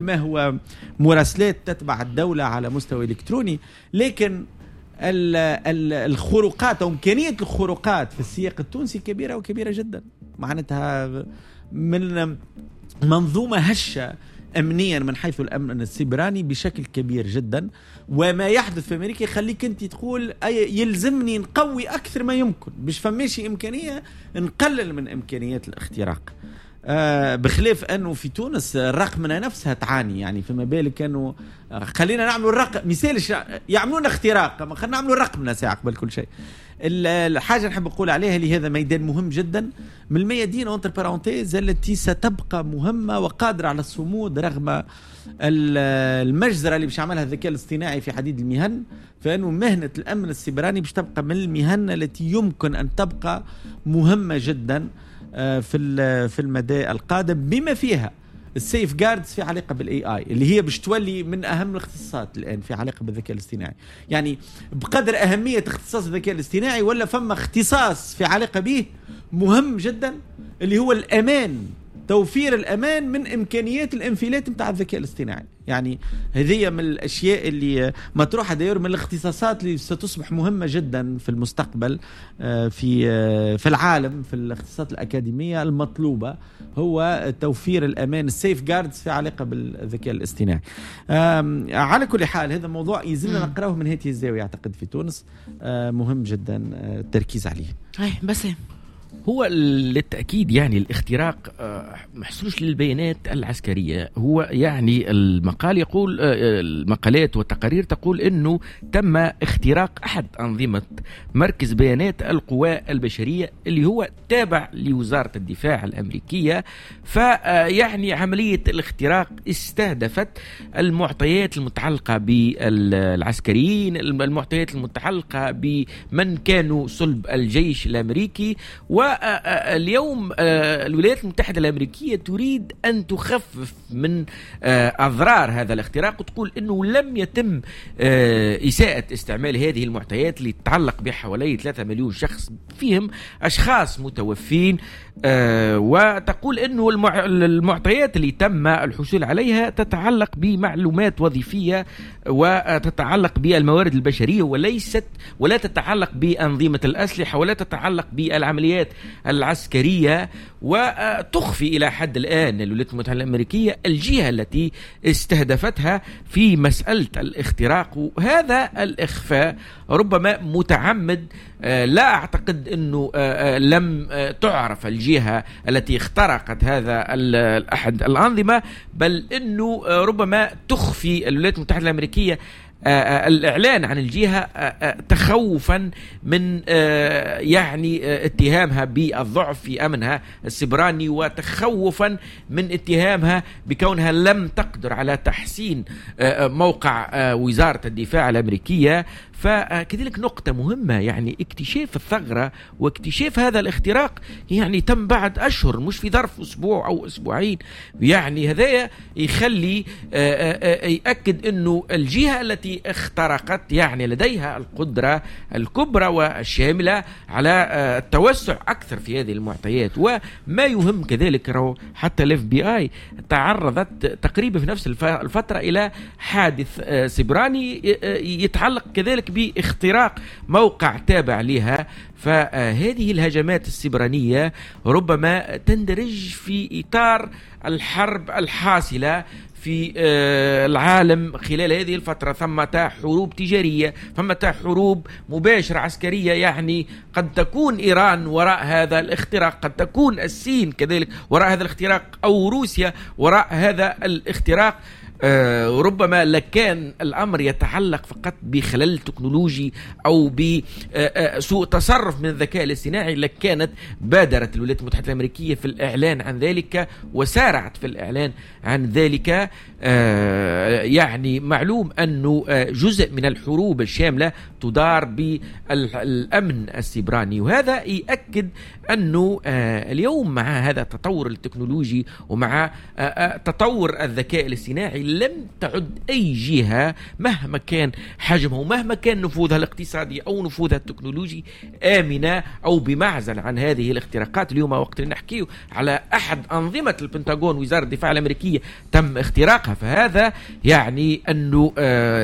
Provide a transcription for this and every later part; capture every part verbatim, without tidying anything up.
ما هو مراسلات تتبع الدولة على مستوى إلكتروني، لكن الخروقات أو إمكانية الخروقات في السياق التونسي كبيرة وكبيرة جدا. معناتها من منظومة هشة أمنيا من حيث الأمن السيبراني بشكل كبير جدا، وما يحدث في أمريكا يخليك أنت تقول أي يلزمني نقوي أكثر ما يمكن باش فماشي إمكانية نقلل من إمكانيات الاختراق. آه بخلاف أنه في تونس الرقمنة نفسها تعاني، يعني فيما بالك أنه خلينا نعملوا الرقم مثال يعملون اختراق، ما خلينا نعملوا الرقمنة ساعة قبل كل شيء. الحاجة نحب نقول عليها اللي هذا ميدان مهم جدا من الميادين entre parenthèses التي ستبقى مهمة وقادرة على الصمود رغم المجزرة اللي باش يعملها الذكاء الاصطناعي في حديد المهن، فإنه مهنة الأمن السيبراني باش تبقى من المهن التي يمكن أن تبقى مهمة جدا في في المدى القادم، بما فيها ال safeguards في علاقة بال AI اللي هي باش تولي من اهم الاختصاصات الان في علاقة بالذكاء الاصطناعي. يعني بقدر اهمية اختصاص الذكاء الاصطناعي ولا فما اختصاص في علاقة به مهم جدا اللي هو الامان، توفير الامان من امكانيات الانفلات نتاع الذكاء الاصطناعي. يعني هذه من الاشياء اللي مطروحة d'ailleurs من الاختصاصات اللي ستصبح مهمة جدا في المستقبل في في العالم في الاختصاصات الاكاديمية المطلوبة، هو توفير الامان ال safeguards في علاقة بالذكاء الاصطناعي. على كل حال هذا موضوع يلزمنا نقراه من هذه الزاوية، اعتقد في تونس مهم جدا التركيز عليه. بس هو للتأكيد يعني الاختراق محسوش للبيانات العسكرية. هو يعني المقال يقول، المقالات والتقارير تقول أنه تم اختراق أحد أنظمة مركز بيانات القوى البشرية اللي هو تابع لوزارة الدفاع الأمريكية. فيعني عملية الاختراق استهدفت المعطيات المتعلقة بالعسكريين، المعطيات المتعلقة بمن كانوا صلب الجيش الأمريكي. و اليوم الولايات المتحدة الأمريكية تريد أن تخفف من أضرار هذا الاختراق وتقول أنه لم يتم إساءة استعمال هذه المعطيات اللي تتعلق بحوالي ثلاثة مليون شخص فيهم أشخاص متوفين، وتقول أنه المعطيات اللي تم الحصول عليها تتعلق بمعلومات وظيفية وتتعلق بالموارد البشرية وليست ولا تتعلق بأنظمة الأسلحة ولا تتعلق بالعمليات العسكرية. وتخفي إلى حد الآن الولايات المتحدة الأمريكية الجهة التي استهدفتها في مسألة الاختراق، وهذا الإخفاء ربما متعمد. لا أعتقد أنه لم تعرف الجهة التي اخترقت هذا أحد الأنظمة، بل أنه ربما تخفي الولايات المتحدة الأمريكية الإعلان عن الجهة تخوفا من يعني اتهامها بالضعف في أمنها السبراني، وتخوفا من اتهامها بكونها لم تقدر على تحسين موقع وزارة الدفاع الأمريكية. فكذلك نقطة مهمة، يعني اكتشاف الثغرة واكتشاف هذا الاختراق يعني تم بعد أشهر، مش في ظرف أسبوع أو أسبوعين. يعني هذا يخلي يأكد أنه الجهة التي اخترقت يعني لديها القدرة الكبرى والشاملة على التوسع أكثر في هذه المعطيات. وما يهم كذلك رو حتى الاف بي اي تعرضت تقريبا في نفس الفترة إلى حادث سبراني يتعلق كذلك باختراق موقع تابع لها. فهذه الهجمات السبرانية ربما تندرج في إطار الحرب الحاصلة في العالم خلال هذه الفترة. ثمة حروب تجارية، ثمة حروب مباشرة عسكرية، يعني قد تكون إيران وراء هذا الاختراق، قد تكون الصين كذلك وراء هذا الاختراق، أو روسيا وراء هذا الاختراق. ربما لكان الأمر يتعلق فقط بخلل تكنولوجي أو بسوء تصرف من الذكاء الاصطناعي لكانت بادرت الولايات المتحدة الأمريكية في الإعلان عن ذلك وسارعت في الإعلان عن ذلك. يعني معلوم أنه جزء من الحروب الشاملة تدار بالأمن السيبراني، وهذا يأكد أنه اليوم مع هذا التطور التكنولوجي ومع تطور الذكاء الاصطناعي لم تعد أي جهة مهما كان حجمها ومهما كان نفوذها الاقتصادي أو نفوذها التكنولوجي آمنة أو بمعزل عن هذه الاختراقات. اليوم وقت اللي نحكيه على أحد أنظمة البنتاغون وزارة الدفاع الأمريكية تم اختراقها، فهذا يعني أنه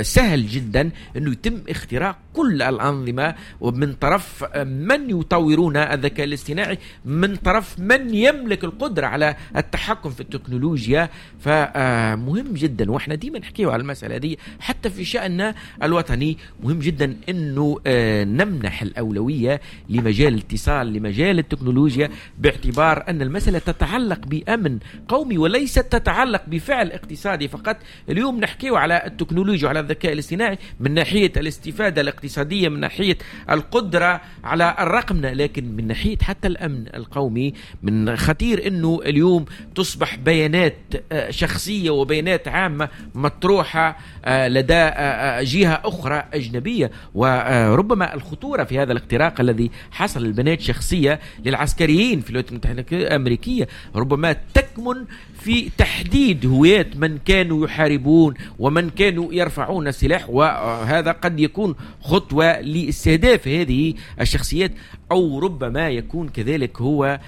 سهل جدا أنه يتم اختراق كل الأنظمة ومن طرف من يطورون الذكاء الاصطناعي، من طرف من يملك القدرة على التحكم في التكنولوجيا. فمهم جدا، واحنا ديما نحكيه على المسألة دي حتى في شأننا الوطني، مهم جدا أنه نمنح الأولوية لمجال الاتصال، لمجال التكنولوجيا، باعتبار أن المسألة تتعلق بأمن قومي وليست تتعلق بفعل اقتصادي فقط. اليوم نحكيه على التكنولوجيا وعلى الذكاء الاصطناعي من ناحية الاستفادة الاقتصادية، من ناحية القدرة على الرقمنة، لكن من ناحية حتى الأمن القومي من خطير أنه اليوم تصبح بيانات شخصية وبيانات عامة مطروحة لدى جهة أخرى أجنبية. وربما الخطورة في هذا الاختراق الذي حصل للبيانات شخصية للعسكريين في الولايات المتحدة الأمريكية ربما تكمن في تحديد هويات من كانوا يحاربون ومن كانوا يرفعون السلاح، وهذا قد يكون خطوة لاستهداف هذه الشخصيات، أو ربما يكون كذلك هو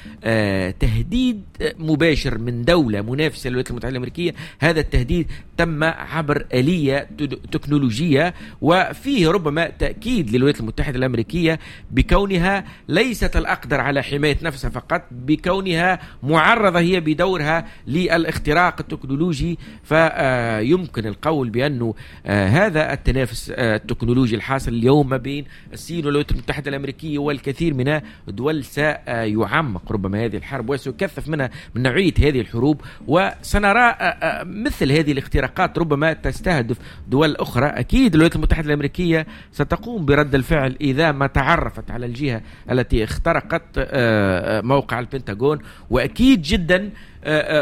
تهديد مباشر من دولة منافسة للولايات المتحدة الأمريكية. هذا التهديد تم عبر آلية تكنولوجية، وفيه ربما تأكيد للولايات المتحدة الأمريكية بكونها ليست الأقدر على حماية نفسها فقط، بكونها معرضة هي بدورها للاختراق التكنولوجي. فيمكن القول بأنه هذا التنافس التكنولوجي الحاصل اليوم ما بين الصين والولايات المتحدة الأمريكية والكثير من الدول سيعمق ربما هذه الحرب وسيكثف منها من نوعية هذه الحروب، وسنرى مثل هذه الاختراقات ربما تستهدف دول أخرى. أكيد الولايات المتحدة الأمريكية ستقوم برد الفعل إذا ما تعرفت على الجهة التي اخترقت موقع البنتاغون، وأكيد جدا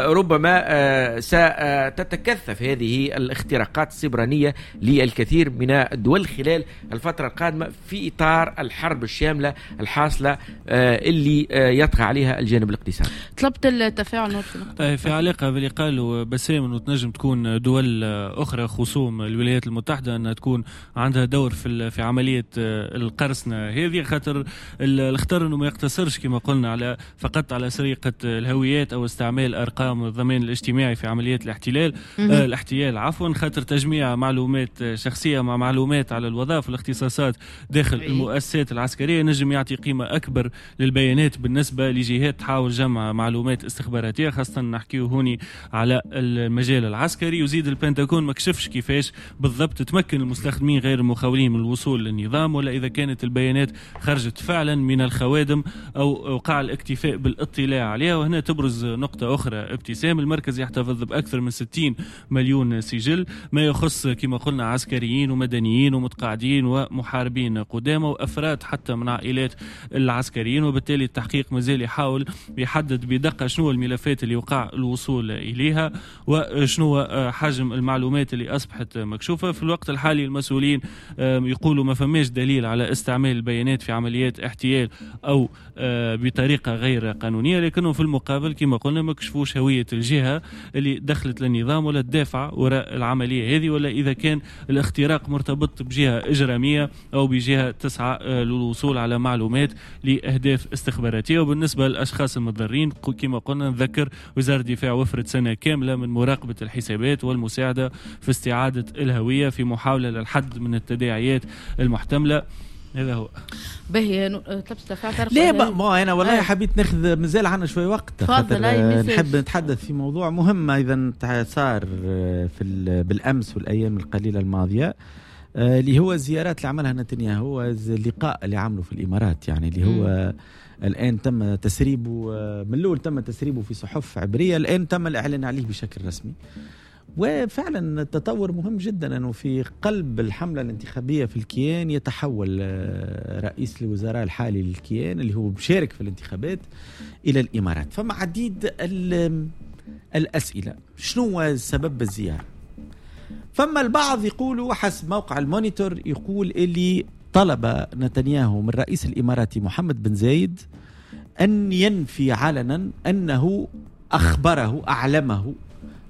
ربما ستتكثف هذه الاختراقات السبرانية للكثير من الدول خلال الفترة القادمة في إطار الحرب الشاملة الحاصلة اللي يطغى عليها الجانب الاقتصادي. طلبت التفاعل نور في, في علاقة باللي قالوا بسام أنه تنجم تكون دول أخرى خصوم الولايات المتحدة أنها تكون عندها دور في في عملية القرصنة هذه، خاطر الاختار أنه ما يقتصرش كما قلنا على فقط على سرقة الهويات أو استعمال أرقام الضمان الاجتماعي في عمليات الاحتلال آه الاحتيال عفوا، خاطر تجميع معلومات شخصية مع معلومات على الوظائف والاختصاصات داخل المؤسسات العسكرية نجم يعطي قيمة أكبر للبيانات بالنسبة لجهات تحاول جمع معلومات استخباراتية، خاصة نحكيه هوني على المجال العسكري. وزيد البنتاغون ما كشفش كيفاش بالضبط تمكن المستخدمين غير المخولين من الوصول للنظام، ولا إذا كانت البيانات خرجت فعلا من الخوادم أو وقع الاكتفاء بالاطلاع عليها. وهنا تبرز نقطة أخرى ابتسام، المركز يحتفظ بأكثر من ستين مليون سجل ما يخص كما قلنا عسكريين ومدنيين ومتقاعدين ومحاربين قدامى وأفراد حتى من عائلات العسكريين، وبالتالي التحقيق مازال يحاول يحدد بدقة شنو الملفات اللي وقع الوصول إليها وشنو حجم المعلومات اللي أصبحت مكشوفة. في الوقت الحالي المسؤولين يقولوا ما فماش دليل على استعمال البيانات في عمليات احتيال أو بطريقة غير قانونية، لكنه في المقابل كما قلنا ما كشفوش هوية الجهة اللي دخلت للنظام ولا الدافع وراء العملية هذه، ولا إذا كان الاختراق مرتبط بجهة إجرامية أو بجهة تسعى للوصول على معلومات لأهداف استخباراتية. وبالنسبة للأشخاص المتضررين كما قلنا نذكر وزارة الدفاع وفرت سنة كاملة من مراقبة الحسابات والمساعدة في استعادة الهوية في محاولة للحد من التداعيات المحتملة. هذا هو باهي. طلبت تفاعل؟ لا ما انا والله حبيت ناخذ، مازال عندنا شوي وقت، خاطر نحب نتحدث في موضوع مهم ايضا صار في بالامس والايام القليلة الماضية، اللي هو الزيارات اللي عملها نتنياهو، اللقاء اللي عمله في الامارات، يعني اللي هو الان تم تسريبه من الاول، تم تسريبه في صحف عبريه، الان تم الاعلان عليه بشكل رسمي. وفعلا التطور مهم جدا، أنه في قلب الحملة الانتخابية في الكيان يتحول رئيس الوزراء الحالي للكيان اللي هو مشارك في الانتخابات إلى الإمارات. فما عديد الأسئلة، شنو سبب الزيارة؟ فما البعض يقولوا حسب موقع المونيتور، يقول اللي طلب نتنياهو من رئيس الإماراتي محمد بن زايد أن ينفي علنا أنه أخبره أعلمه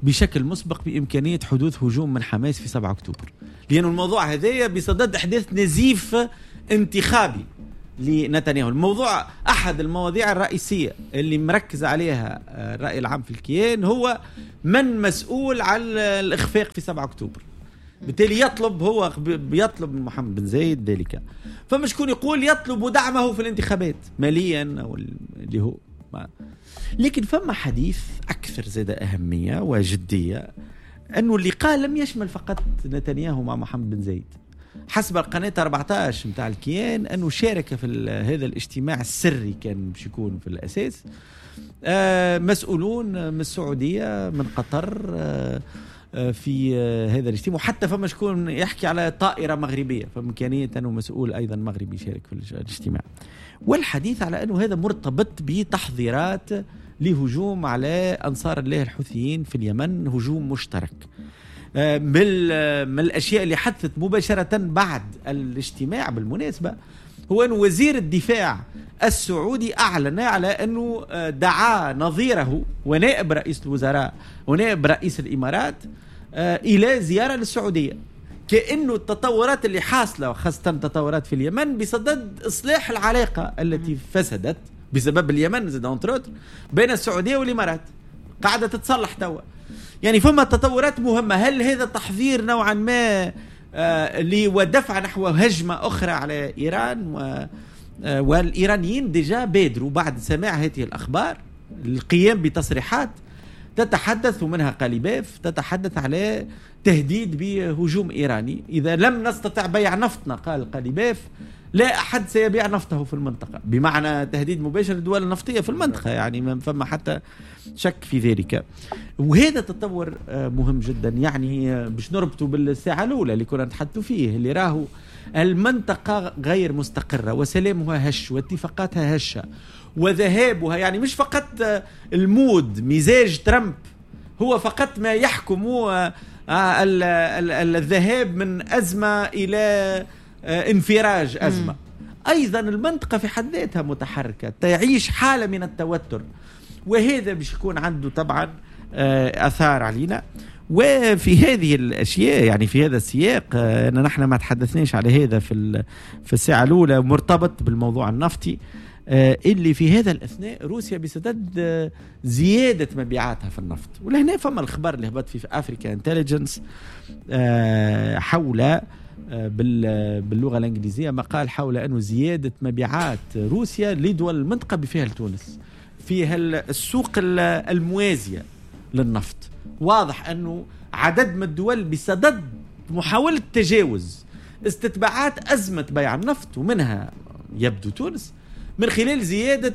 بشكل مسبق بإمكانية حدوث هجوم من حماس في سبعة أكتوبر، لأن الموضوع هذايا بصدد أحداث نزيف انتخابي لنتنياهو. الموضوع أحد المواضيع الرئيسية اللي مركز عليها الرأي العام في الكيان هو من مسؤول على الإخفاق في سبعة أكتوبر، بالتالي يطلب هو بيطلب من محمد بن زايد ذلك. فما شكون يقول يطلب دعمه في الانتخابات ماليا أو اللي هو ما. لكن فما حديث أكثر زاد أهمية وجدية أنه اللقاء لم يشمل فقط نتنياهو مع محمد بن زايد. حسب القناة أربعة عشر متاع الكيان أنه شارك في هذا الاجتماع السري كان باش يكون في الأساس مسؤولون من السعودية من قطر في هذا الاجتماع، وحتى فما شكون يحكي على طائرة مغربية، فإمكانية أنه مسؤول أيضا مغربي يشارك في الاجتماع. والحديث على أنه هذا مرتبط بتحضيرات لهجوم على أنصار الله الحوثيين في اليمن، هجوم مشترك. من الأشياء اللي حدثت مباشرة بعد الاجتماع بالمناسبة هو أن وزير الدفاع السعودي أعلن على أنه دعا نظيره ونائب رئيس الوزراء ونائب رئيس الإمارات إلى زيارة للسعودية، كأنه التطورات اللي حاصلة وخاصة التطورات في اليمن بصدد إصلاح العلاقة التي فسدت بسبب اليمن زاد أنتروت بين السعودية والإمارات قاعدة تتصلح توا. يعني فما تطورات مهمة. هل هذا تحذير نوعا ما آه ودفع نحو هجمة أخرى على إيران؟ و آه والإيرانيين déjà بادروا بعد سماع هذه الأخبار القيام بتصريحات تتحدث ومنها قاليباف تتحدث على تهديد بهجوم إيراني إذا لم نستطع بيع نفطنا. قال قاليباف لا أحد سيبيع نفطه في المنطقة، بمعنى تهديد مباشر للدول النفطية في المنطقة، يعني ما فما حتى شك في ذلك. وهذا تطور مهم جدا، يعني باش نربطه بالساعة الأولى اللي كنا نتحدث فيه، اللي راهو المنطقة غير مستقرة وسلامها هش واتفاقاتها هشة وذهابها، يعني مش فقط ال mood مزاج ترامب هو فقط ما يحكم الذهاب من أزمة إلى انفراج أزمة. مم. أيضا المنطقة في حد ذاتها متحركة، تعيش حالة من التوتر، وهذا باش يكون عنده طبعا أثار علينا. وفي هذه الأشياء يعني في هذا السياق نحن ما تحدثناش على هذا في في الساعة الأولى، مرتبط بالموضوع النفطي اللي في هذا الأثناء روسيا بسدد زيادة مبيعاتها في النفط. ولهنا فما الخبر اللي هبط في Africa Intelligence حول باللغة الإنجليزية مقال حول أنه زيادة مبيعات روسيا لدول المنطقة بفيها لتونس فيها السوق الموازية للنفط. واضح أنه عدد من الدول بصدد محاولة تجاوز استتباعات أزمة بيع النفط ومنها يبدو تونس من خلال زيادة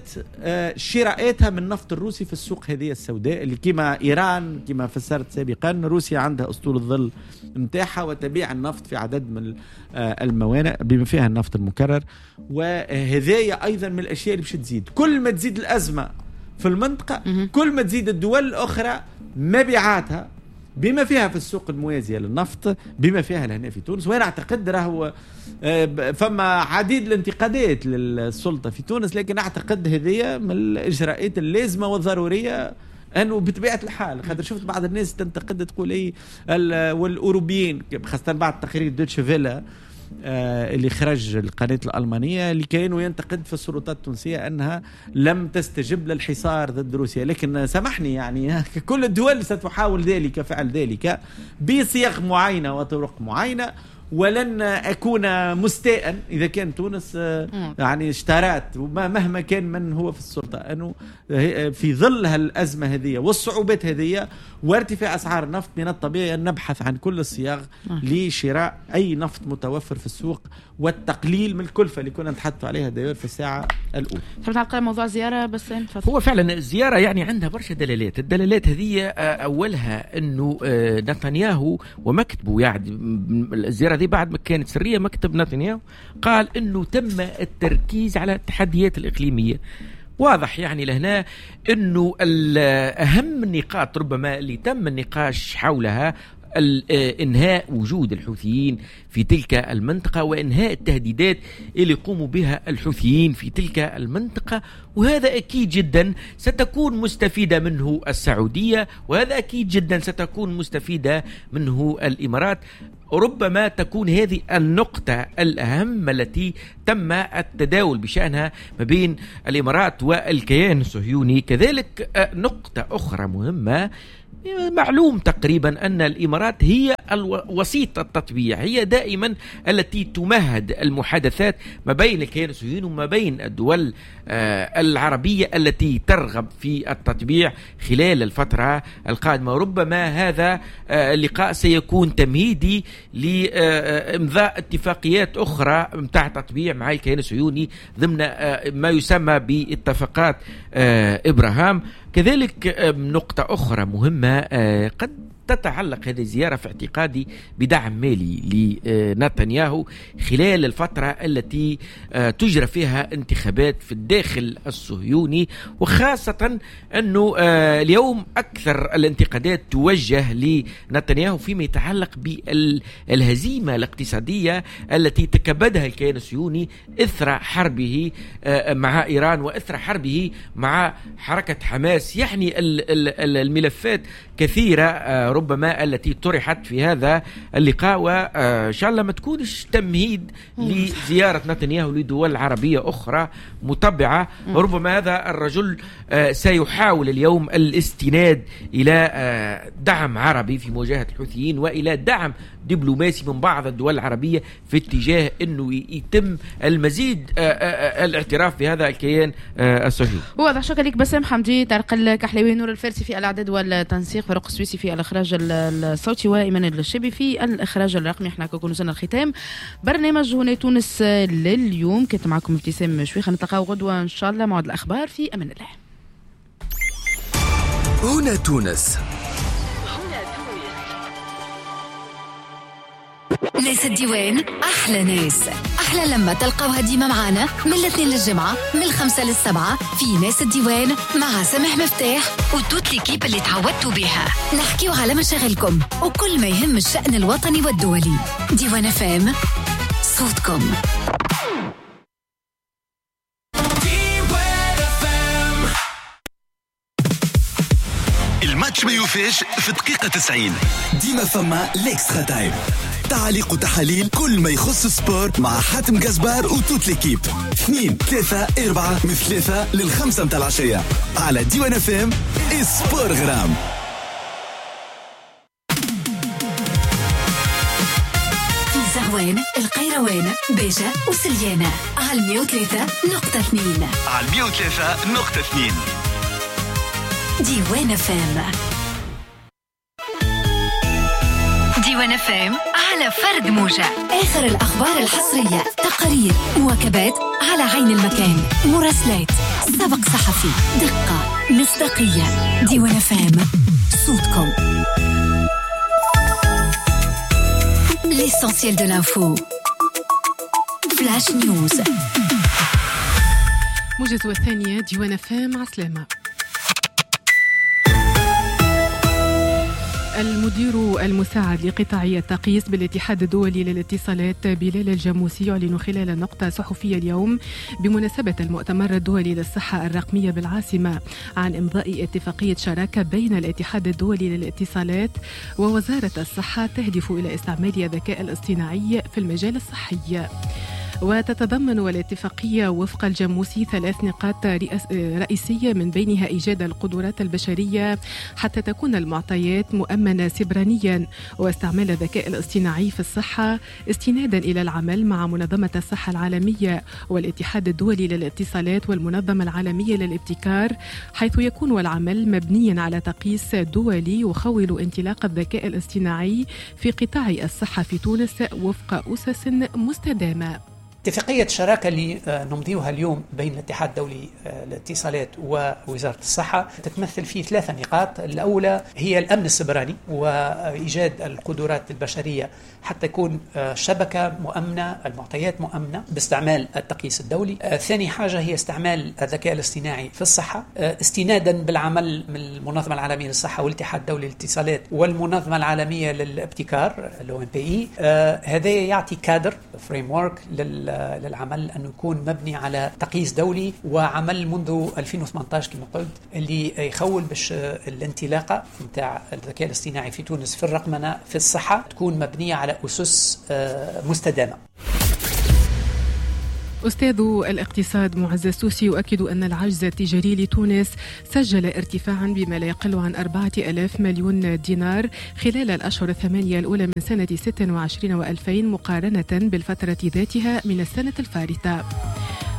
شراءاتها من النفط الروسي في السوق هذه السوداء اللي كما إيران كما فسرت سابقا روسيا عندها أسطول الظل متاحة وتبيع النفط في عدد من الموانئ بما فيها النفط المكرر. وهذايا أيضا من الأشياء اللي باش تزيد كل ما تزيد الأزمة في المنطقة، كل ما تزيد الدول الأخرى مبيعاتها بما فيها في السوق الموازية للنفط بما فيها لهنا في تونس. وأنا أعتقد راهو فما عديد الانتقادات للسلطة في تونس، لكن أعتقد هذه من الإجراءات اللازمة والضرورية أنه بطبيعة الحال، خاطر شفت بعض الناس تنتقد تقول إيه والأوروبيين خاصة بعد تقرير دوتش فيلا اللي خرج القناة الألمانية اللي كانوا ينتقد في السلطات التونسية أنها لم تستجب للحصار ضد روسيا. لكن سامحني يعني كل الدول ستحاول ذلك فعل ذلك بصيغ معينة وطرق معينة، ولن أكون مستاء إذا كان تونس يعني اشترت مهما كان من هو في السلطة، أنه في ظل هالأزمة هذه والصعوبات هذه وارتفاع أسعار النفط من الطبيعي أن نبحث عن كل الصياغ لشراء أي نفط متوفر في السوق والتقليل من الكلفة اللي كنا نتحدث عليها داير في الساعة الأولى. تحب تعلق على موضوع الزيارة بس؟ هو فعلا الزيارة يعني عندها برشا دلالات. الدلالات هذه أولها أنه نتنياهو ومكتبه، يعني الزيارة دي بعد ما كانت سرية مكتب نتنياهو قال أنه تم التركيز على التحديات الإقليمية. واضح يعني لهنا أنه أهم النقاط ربما اللي تم النقاش حولها إنهاء وجود الحوثيين في تلك المنطقة وإنهاء التهديدات اللي يقوموا بها الحوثيين في تلك المنطقة. وهذا أكيد جدا ستكون مستفيدة منه السعودية، وهذا أكيد جدا ستكون مستفيدة منه الإمارات. ربما تكون هذه النقطة الأهم التي تم التداول بشأنها ما بين الإمارات والكيان الصهيوني. كذلك نقطة أخرى مهمة، معلوم تقريبا أن الإمارات هي الوسيط التطبيع، هي دائما التي تمهد المحادثات ما بين الكيان الصهيوني وما بين الدول العربية التي ترغب في التطبيع خلال الفترة القادمة. ربما هذا اللقاء سيكون تمهيدي لإمضاء اتفاقيات أخرى متاع تطبيع مع الكيان الصهيوني ضمن ما يسمى باتفاقات إبراهام. كذلك نقطة أخرى مهمة قد تتعلق هذه الزيارة في اعتقادي بدعم مالي لنتنياهو خلال الفترة التي تجرى فيها انتخابات في الداخل الصهيوني، وخاصة أنه اليوم أكثر الانتقادات توجه لنتنياهو فيما يتعلق بالهزيمة الاقتصادية التي تكبدها الكيان الصهيوني إثر حربه مع إيران وإثر حربه مع حركة حماس. يعني الملفات كثيرة ربما التي طرحت في هذا اللقاء، وإن شاء الله ما تكونش تمهيد لزيارة نتنياهو لدول عربية أخرى متبعة. ربما هذا الرجل سيحاول اليوم الاستناد إلى دعم عربي في مواجهة الحوثيين وإلى دعم دبلوماسي من بعض الدول العربية في اتجاه أنه يتم المزيد الاعتراف بهذا الكيان الصهيوني. واضح. شكرا لك بسام حمدي، طارق الكحلاوي، نور الفارسي في الأعداد والتنسيق، فاروق السويسي في الإخراج الصوتي، وإيمان الشبي في الإخراج الرقمي. احنا كنا وصلنا الختام برنامج هنا تونس لليوم. كنت معكم ابتسام شويخة، نتلاقاو غدوة إن شاء الله موعد الأخبار. في أمان الله. هنا تونس. ناس الديوان أحلى ناس، أحلى لما تلقوها ديما معانا من الاثنين للجمعة من الخمسة للسبعة في ناس الديوان مع سامح مفتاح و toute l'équipe اللي تعودتوا بها. نحكيو على مشاغلكم وكل ما يهم الشأن الوطني والدولي. ديوان إف إم، صوتكم. الماتش ما يوفيش في دقيقة تسعين، ديما فما l'extra time، تعليق وتحاليل كل ما يخص sport مع حاتم قزبار و toute l'équipe. اثنين ثلاثة أربعة من ثلاثة للخمسة متاع العشية على ديوان إف إم. sport غرام. في زغوان، القيروان، باجة وسليانة على مية وثلاثة نقطة اثنين. على مية وثلاثة نقطة اثنين ديوان إف إم. ديوان إف إم على فرد موجة. آخر الأخبار الحصرية، تقارير، مواكبات على عين المكان، مراسلات، سبق صحفي، دقة، مصداقية. ديوان إف إم، صوتكم. L'essentiel de l'info. Flash News. موجز الثانية ديوان إف إم. عسلامة. المدير المساعد لقطاع التقييس بالاتحاد الدولي للاتصالات بلال الجاموسي يعلن خلال نقطة صحفية اليوم بمناسبة المؤتمر الدولي للصحة الرقمية بالعاصمة عن إمضاء اتفاقية شراكة بين الاتحاد الدولي للاتصالات ووزارة الصحة تهدف إلى استعمال الذكاء الاصطناعي في المجال الصحي. وتتضمن الاتفاقية وفق الجاموسي ثلاث نقاط رئيسية، من بينها إيجاد القدرات البشرية حتى تكون المعطيات مؤمنة سبرانيا، واستعمال الذكاء الاصطناعي في الصحة استنادا إلى العمل مع منظمة الصحة العالمية والاتحاد الدولي للاتصالات والمنظمة العالمية للابتكار، حيث يكون العمل مبنيا على تقييس دولي يخول انطلاق الذكاء الاصطناعي في قطاع الصحة في تونس وفق أسس مستدامة. اتفاقية الشراكة اللي نمضيها اليوم بين الاتحاد الدولي للاتصالات ووزارة الصحة تتمثل في ثلاثة نقاط. الأولى هي الأمن السبراني وإيجاد القدرات البشرية حتى يكون شبكة مؤمنة، المعطيات مؤمنة باستعمال التقييس الدولي. ثاني حاجة هي استعمال الذكاء الاصطناعي في الصحة استنادا بالعمل من المنظمة العالمية للصحة والاتحاد الدولي للاتصالات والمنظمة العالمية للابتكار ال OMPI. هذا يعطي cadre framework للعمل أنه يكون مبني على تقييس دولي وعمل منذ ألفين وثمانية عشر كما قلت، اللي يخول باش الانطلاقة نتاع الذكاء الاصطناعي في تونس في الرقمنة في الصحة تكون مبنية على أسس مستدامة. أستاذ الاقتصاد معز السوسي يؤكد أن العجز التجاري لتونس سجل ارتفاعا بما لا يقل عن أربعة آلاف مليون دينار خلال الأشهر الثمانية الأولى من سنة ستة وعشرين وألفين مقارنة بالفترة ذاتها من السنة الفارطة.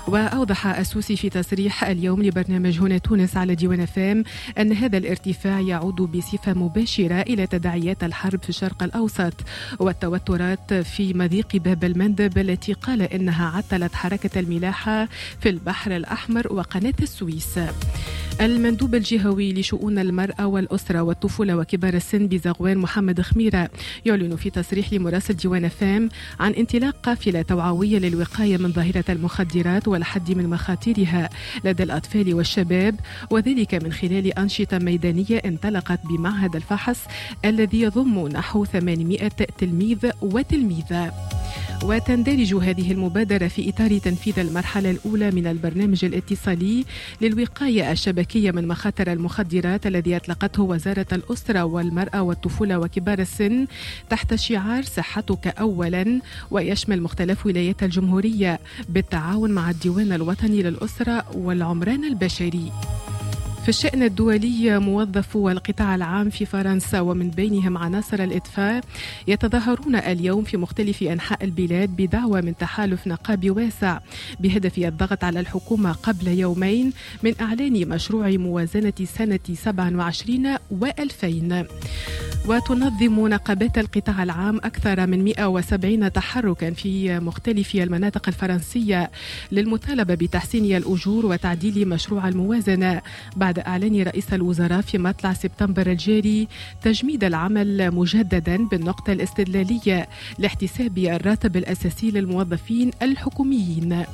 وأوضح السوسي في تصريح اليوم لبرنامج هنا تونس على ديوان فام أن هذا الارتفاع يعود بصفة مباشرة إلى تداعيات الحرب في الشرق الأوسط والتوترات في مضيق باب المندب التي قال إنها عطلت حركة الملاحة في البحر الأحمر وقناة السويس. المندوب الجهوي لشؤون المرأة والأسرة والطفولة وكبار السن بزغوان محمد خميرة يعلن في تصريح لمراسل ديوان فام عن انطلاق قافلة توعوية للوقاية من ظاهرة المخدرات والحد من مخاطرها لدى الأطفال والشباب، وذلك من خلال أنشطة ميدانية انطلقت بمعهد الفحص الذي يضم نحو ثمانمائة تلميذ وتلميذة. وتندرج هذه المبادرة في إطار تنفيذ المرحلة الأولى من البرنامج الاتصالي للوقاية الشبكية من مخاطر المخدرات الذي أطلقته وزارة الأسرة والمرأة والطفولة وكبار السن تحت شعار صحتك أولا، ويشمل مختلف ولايات الجمهورية بالتعاون مع الديوان الوطني للأسرة والعمران البشري. في الشأن الدولي، موظفو القطاع العام في فرنسا ومن بينهم عناصر الإطفاء يتظاهرون اليوم في مختلف أنحاء البلاد بدعوى من تحالف نقابي واسع بهدف الضغط على الحكومة قبل يومين من إعلان مشروع موازنة سنة سبعة وعشرين وألفين. وتنظم نقابات القطاع العام أكثر من مئة وسبعين تحركا في مختلف المناطق الفرنسية للمطالبة بتحسين الأجور وتعديل مشروع الموازنة بعد إعلان رئيس الوزراء في مطلع سبتمبر الجاري تجميد العمل مجددا بالنقطة الاستدلالية لاحتساب الراتب الأساسي للموظفين الحكوميين.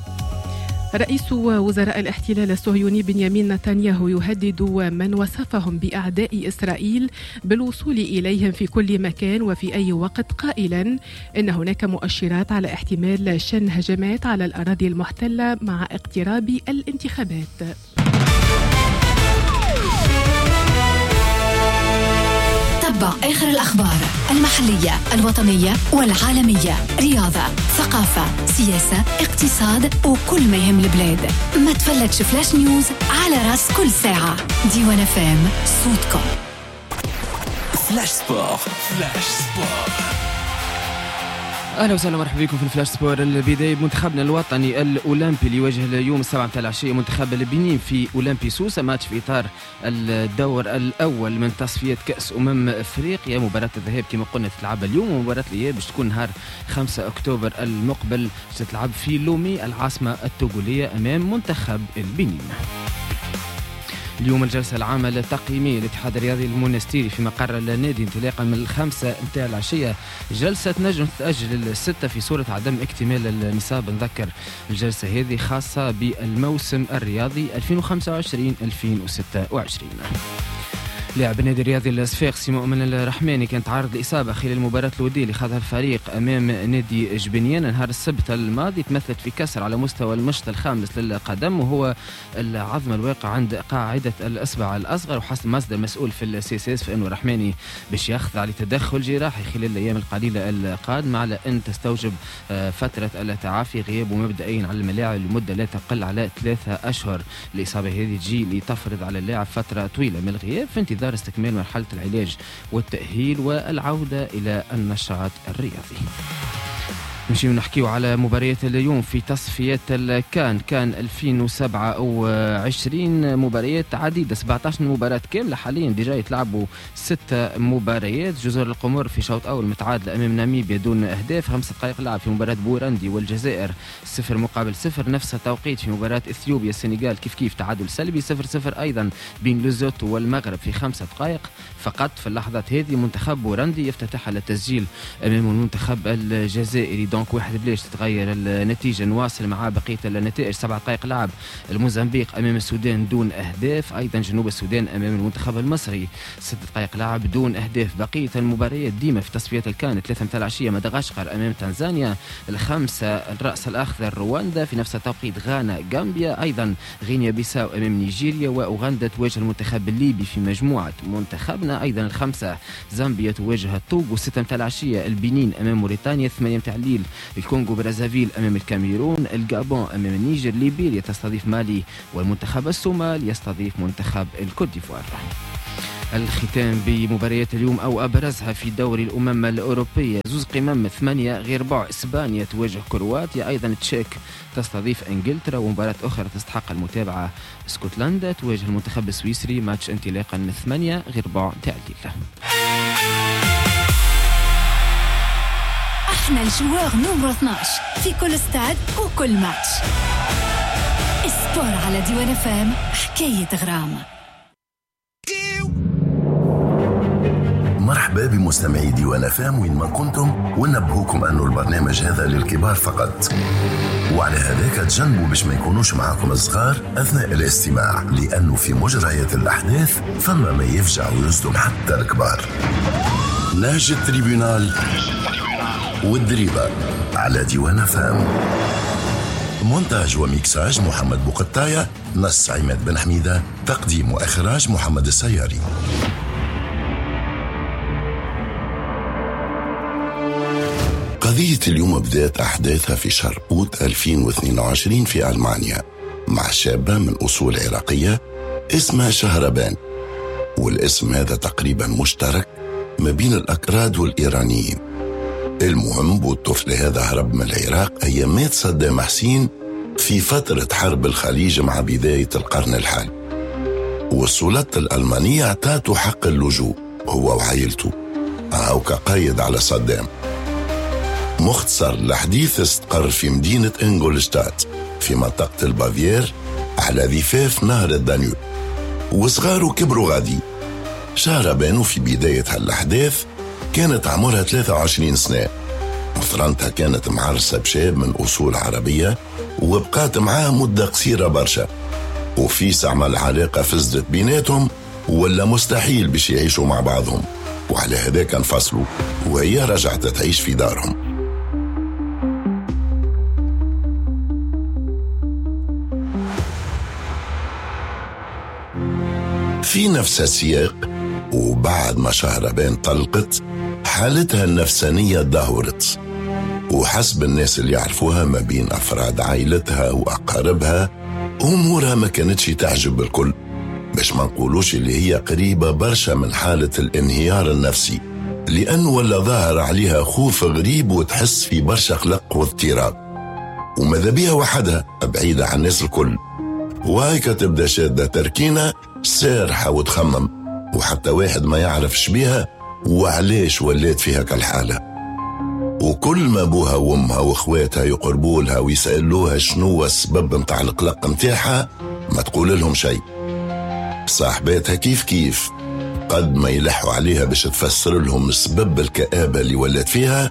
رئيس وزراء الاحتلال الصهيوني بنيامين نتنياهو يهدد من وصفهم بأعداء إسرائيل بالوصول إليهم في كل مكان وفي أي وقت، قائلا إن هناك مؤشرات على احتمال شن هجمات على الأراضي المحتلة مع اقتراب الانتخابات. تبع آخر الأخبار المحلية، الوطنية والعالمية، رياضة، ثقافة، سياسة، اقتصاد وكل ما يهم البلاد. ما تفلتش flash news على راس كل ساعة. ديوان فام، صوتكم. flash sport. flash sport. اهلا وسهلا ومرحبا بكم في ال flash sport. البداية بمنتخبنا الوطني الاولمبي اللي يواجه اليوم السبعة متاع العشية منتخب البنين في اولمبي سوسة، ماتش في اطار الدور الاول من تصفية كاس امم افريقيا. مباراة الذهاب كما قلنا تتلعب اليوم، ومباراة الاياب باش تكون نهار خمسة اكتوبر المقبل، تتلعب في لومي العاصمة التوغوليه امام منتخب البنين. اليوم الجلسة العامة التقييمية للاتحاد الرياضي المونستيري في مقر النادي انطلاقا من الخمسة متاع العشية، جلسة تنجم تتأجل للستة في صورة عدم اكتمال النصاب. نذكر الجلسة هذه خاصة بالموسم الرياضي ألفين وخمسة وعشرين ألفين وستة وعشرين. لاعب النادي الرياضي الصفاقسي مؤمن الرحماني كان تعرض لإصابة خلال المباراة الودية اللي خاضها الفريق أمام نادي جبنيان نهار السبت الماضي، تمثلت في كسر على مستوى المشط الخامس للقدم وهو العظم الواقع عند قاعدة الإصبع الأصغر. وحسب مصدر مسؤول في ال CSS فإنه الرحماني باش يخضع لتدخل جراحي خلال الأيام القليلة القادمة على أن تستوجب فترة التعافي غيابه مبدئيا على الملاعب لمدة لا تقل على ثلاثة أشهر. الإصابة هذه تجي لتفرض على اللاعب فترة طويلة من الغياب في انتظار استكمال مرحلة العلاج والتأهيل والعودة إلى النشاط الرياضي. نمشيو نحكيو على مباريات اليوم في تصفيات الكان كان ألفين وسبعة وعشرين، مباريات عديدة سبعة عشر مباراة كاملة حاليا déjà يتلعبوا ستة مباريات. جزر القمر في شوط أول متعادلة أمام ناميبيا دون أهداف، خمس دقائق لعب في مباراة بوروندي والجزائر صفر مقابل صفر، نفس التوقيت في مباراة إثيوبيا السنغال كيف كيف تعادل سلبي صفر صفر أيضا بين لوزوتو والمغرب في خمسة دقائق فقط. في اللحظات هذه منتخب بوروندي يفتتح على التسجيل أمام المنتخب الجزائري، donc واحد بلاش تتغير النتيجة. نواصل مع بقية النتائج. سبع دقائق لعب الموزمبيق أمام السودان دون أهداف، أيضا جنوب السودان أمام المنتخب المصري ست دقائق لعب دون أهداف. بقية المباريات ديما في تصفيات الكان، ثلاثة متاع العشية مدغشقر أمام تنزانيا، الخمسة الرأس الأخضر رواندا، في نفس التوقيت غانا غامبيا، أيضا غينيا بيساو أمام نيجيريا، وأوغندا تواجه المنتخب الليبي في مجموعة منتخبنا. أيضا الخمسة زامبيا تواجه الطوغو، ستة متاع العشية البنين أمام موريتانيا، ثمانية متاع الليل الكونغو برازافيل أمام الكاميرون، الجابون أمام النيجر، ليبيريا تستضيف مالي، والمنتخب الصومال يستضيف منتخب الكوت ديفوار. الختام بمباريات اليوم أو أبرزها في دوري الأمم الأوروبية، زوز قمم ثمانية غير ربع إسبانيا تواجه كرواتيا، أيضا تشيك تستضيف إنجلترا، ومباراة أخرى تستحق المتابعة اسكتلندا تواجه المنتخب السويسري، ماتش انطلاقا من ثمانية غير ربع تاع الليل. احنا ال joueur numéro اثناش في كل ستاد وكل ماتش. sport على ديوان فام، حكاية غرام. مرحبا بمستمعي ديوان فام وين ما كنتم، ونبهوكم أنه البرنامج هذا للكبار فقط، وعلى هذاك تجنبوا باش ما يكونوش معاكم الصغار أثناء الاستماع، لأنه في مجريات الأحداث فما ما يفجع ويصدم حتى الكبار. نهج ال tribunal والدريبة على ديوان فام. مونتاج وميكساج محمد بوقطاية، نص عماد بن حميدة، تقديم وإخراج محمد السياري. قضية اليوم بدأت أحداثها في شهر أوت ألفين واثنين وعشرين في ألمانيا مع شابة من أصول عراقية اسمها شهربان، والاسم هذا تقريبا مشترك ما بين الأكراد والإيرانيين. المهم والطفل هذا هرب من العراق أيامات صدام حسين في فترة حرب الخليج مع بداية القرن الحالي، والسلطات الألمانية اعطاته حق اللجوء هو وعائلته أو كقايد على صدام. مختصر الحديث، استقر في مدينة إنغولشتات في منطقة البافير على ضفاف نهر الدانيوب، وصغاره كبروا غادي. شهربانو في بداية هالأحداث كانت عمرها ثلاثة وعشرين سنة، وثرنتها كانت معرسة بشاب من أصول عربية وبقات معاه مدة قصيرة برشا، وفي ساعة ما العلاقة فزدت بيناتهم ولا مستحيل باش يعيشوا مع بعضهم، وعلى هذاك انفصلوا وهي رجعت تعيش في دارهم. في نفس السياق وبعد ما شهربان طلقت، حالتها النفسانية دهورت، وحسب الناس اللي يعرفوها ما بين أفراد عائلتها وأقاربها أمورها ما كانتش تعجب الكل، باش ما نقولوش اللي هي قريبة برشا من حالة الانهيار النفسي، لأنه ولا ظاهر عليها خوف غريب وتحس في برشا قلق واضطراب، وماذا بيها وحدها بعيدة عن الناس الكل، وهيك تبدأ شادة تركينة سارحة وتخمم، وحتى واحد ما يعرف شبيها وعليش ولات فيها كالحالة. وكل ما بوها وامها واخواتها يقربوا لها ويسألوها شنو السبب متاع القلق متاعها ما تقول لهم شيء. صاحباتها كيف كيف قد ما يلحوا عليها باش تفسر لهم سبب الكآبة اللي ولات فيها،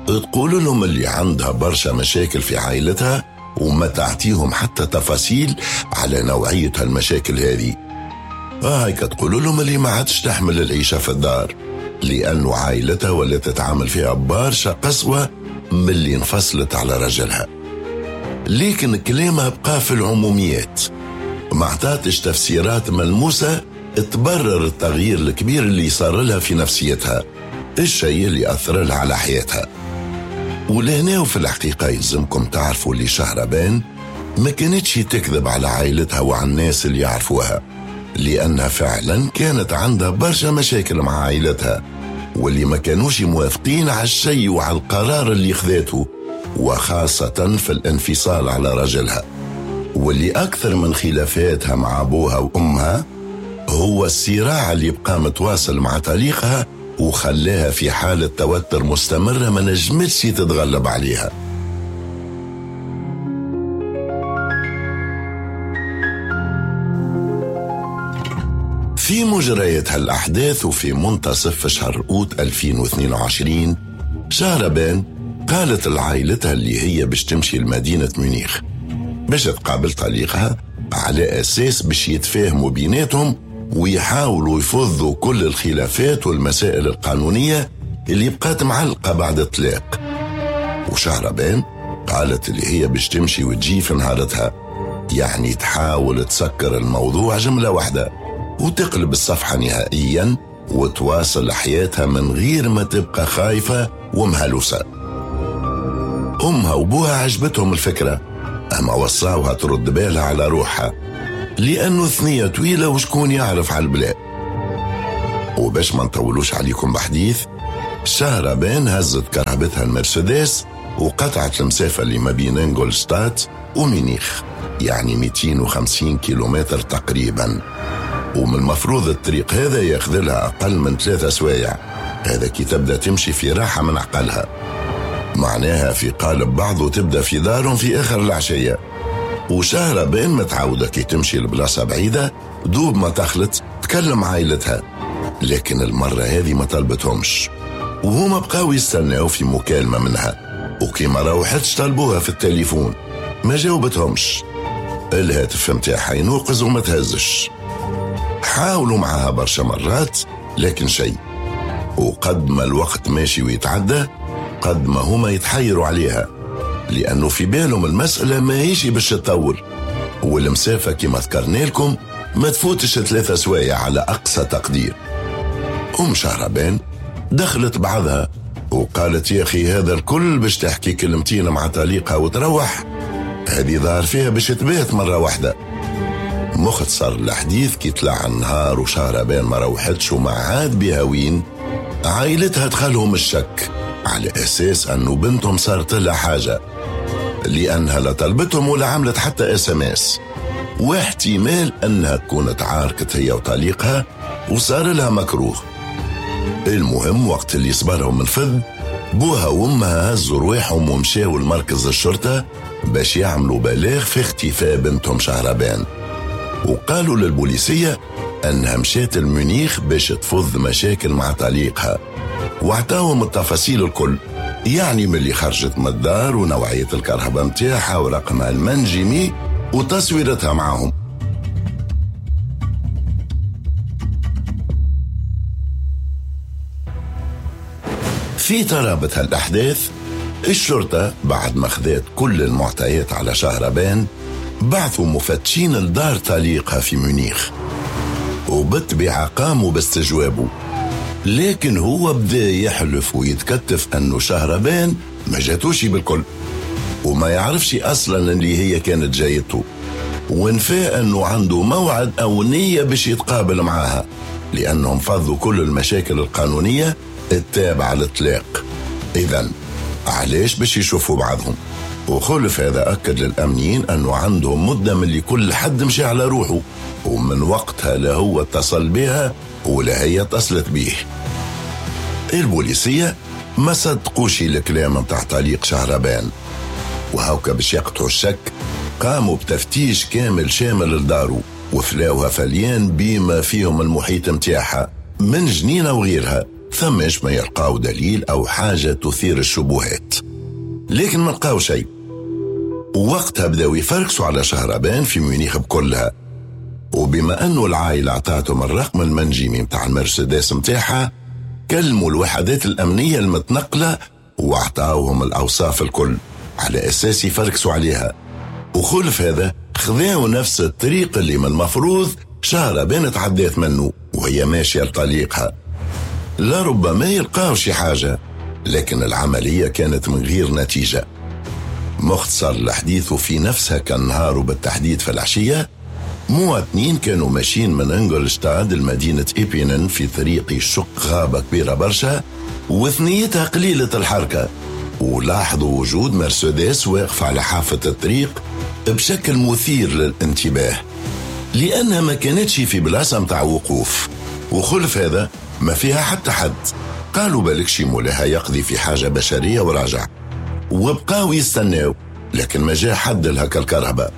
تقول لهم اللي عندها برشا مشاكل في عائلتها وما تعطيهم حتى تفاصيل على نوعية هالمشاكل هذه. هايك تقول لهم اللي ما عادش تحمل العيشة في الدار لأنه عائلتها ولا تتعامل فيها برشا قسوة من اللي انفصلت على رجلها. لكن كلامها بقى في العموميات، ما عطاتش تفسيرات ملموسة تبرر التغيير الكبير اللي صار لها في نفسيتها، الشيء اللي أثر لها على حياتها. ولهنا وفي الحقيقة يلزمكم تعرفوا اللي شهربان ما كانتش تكذب على عائلتها وعلى الناس اللي يعرفوها، لأنها فعلا كانت عندها برشا مشاكل مع عائلتها واللي ما كانوش موافقين على الشيء وعلى القرار اللي خذاته، وخاصة في الانفصال على رجلها. واللي أكثر من خلافاتها مع أبوها وأمها هو الصراع اللي بقى متواصل مع طليقها وخلاها في حالة توتر مستمرة ما نجمتش تتغلب عليها. في مجريات هالأحداث وفي منتصف شهر أوت ألفين واثنين وعشرين، شهربان قالت لعائلتها اللي هي باش تمشي لمدينة ميونخ باش تقابل طليقها على أساس باش يتفاهموا بيناتهم ويحاولوا يفضوا كل الخلافات والمسائل القانونية اللي بقات معلقة بعد الطلاق. وشهربان قالت اللي هي باش تمشي وتجي في نهارتها، يعني تحاول تسكر الموضوع جملة واحدة وتقلب الصفحة نهائيا وتواصل حياتها من غير ما تبقى خايفة ومهلوسة. أمها وبوها عجبتهم الفكرة، أما وصاوها ترد بالها على روحها لأنه ثنية طويلة وشكون يعرف على البلاد. وباش ما نطولوش عليكم بحديث، شهربان هزت كرهبتها المرسيدس وقطعت المسافة اللي ما بين انجولشتات وميونخ، يعني مئتين وخمسين كيلومتر تقريبا، ومن المفروض الطريق هذا ياخذ لها أقل من ثلاثة سوايع، هذا كي تبدأ تمشي في راحة من عقلها، معناها في قالب بعضه تبدأ في دارهم في آخر العشية. وشهربان متعودة كي تمشي لبلاصة بعيدة دوب ما تخلط تكلم عائلتها، لكن المرة هذه ما طلبتهمش، وهما بقاو يستناو في مكالمة منها، وكي ما روحتش طلبوها في التليفون ما جاوبتهمش، الهاتف متاعها ينوقز وما تهزش. حاولوا معها برشا مرات لكن شيء، وقد ما الوقت ماشي ويتعدى قد ما هما يتحيروا عليها، لأنه في بالهم المسألة ما هيش باش تطول، والمسافة كما ذكرنا لكم ما تفوتش ثلاثة سوايع على أقصى تقدير. أم شهربان دخلت بعضها وقالت يا أخي هذا الكل باش تحكي كلمتين مع طليقها وتروح، هذه ظهر فيها باش تبات مرة واحدة. مختصر الحديث كي طلع النهار وشهربان ما روحتش وما عاد بها وين، عائلتها دخلهم الشك على أساس أنه بنتهم صارت لها حاجة، لأنها لا طلبتهم ولا عملت حتى SMS، واحتمال أنها تكون تعاركت هي وطليقها وصار لها مكروه. المهم وقت اللي صبرهم الفذ، بوها وامها هزوا رواحهم ومشاوا لمركز الشرطة باش يعملوا بلاغ في اختفاء بنتهم شهربان، وقالوا للبوليسية أنها مشات المونيخ باش تفض مشاكل مع طليقها، واعطاهم التفاصيل الكل، يعني من اللي خرجت من الدار ونوعية الكهرباء متاعها ورقمها المنجمي وتصويرتها معهم. في ترابط هالأحداث، الشرطة بعد ما خذت كل المعطيات على شهربان بعثوا مفتشين لدار طليقها في ميونخ، وبالطبيعة قاموا باستجوابه، لكن هو بدأ يحلف ويتكتف أنه شهربان ما جاتوش بالكل وما يعرفش أصلا اللي هي كانت جايته، ونفى أنه عنده موعد أو نية باش يتقابل معاها، لأنهم فضوا كل المشاكل القانونية التابعة للطلاق. إذن علاش باش يشوفوا بعضهم؟ وخلف هذا أكد للأمنيين أنه عندهم مدة من اللي كل حد مشي على روحه، ومن وقتها لا هو اتصل بها ولا هي اتصلت بيه. البوليسية ما صدقوش الكلام متاع طليق شهربان، وهوكا باش يقطعوا الشك قاموا بتفتيش كامل شامل لدارو، وفلاوها فليان بما فيهم المحيط متاعها من جنينة وغيرها، ثماش ما يلقاو دليل أو حاجة تثير الشبهات، لكن ما لقاو شيء. ووقتها بداوا يفركسوا على شهربان في ميونخ بكلها، وبما أنه العائلة اعطاتهم الرقم المنجمي متاع المرسيدس متاعها، كلموا الوحدات الأمنية المتنقلة واعطاوهم الأوصاف الكل على أساس يفركسوا عليها. وخلف هذا خذاو نفس الطريق اللي من المفروض شهربان تعدات منه وهي ماشية لطليقها، لربما يلقاو شي حاجة، لكن العملية كانت من غير نتيجة. مختصر الحديث، في نفسها كان نهار وبالتحديد في العشية، مواطنين كانوا ماشيين من انجلشتاد لمدينة إيبينن في طريق يشق غابة كبيرة برشا وثنيتها قليلة الحركة، ولاحظوا وجود مرسيدس واقفة على حافة الطريق بشكل مثير للانتباه، لأنها ما كانتش في بلاصة متاع وقوف، وخلف هذا ما فيها حتى حد. قالوا بالك شي مولاها يقضي في حاجة بشرية وراجع، وبقاو يستناو، لكن ما جاء حد لهكا الكرهبة.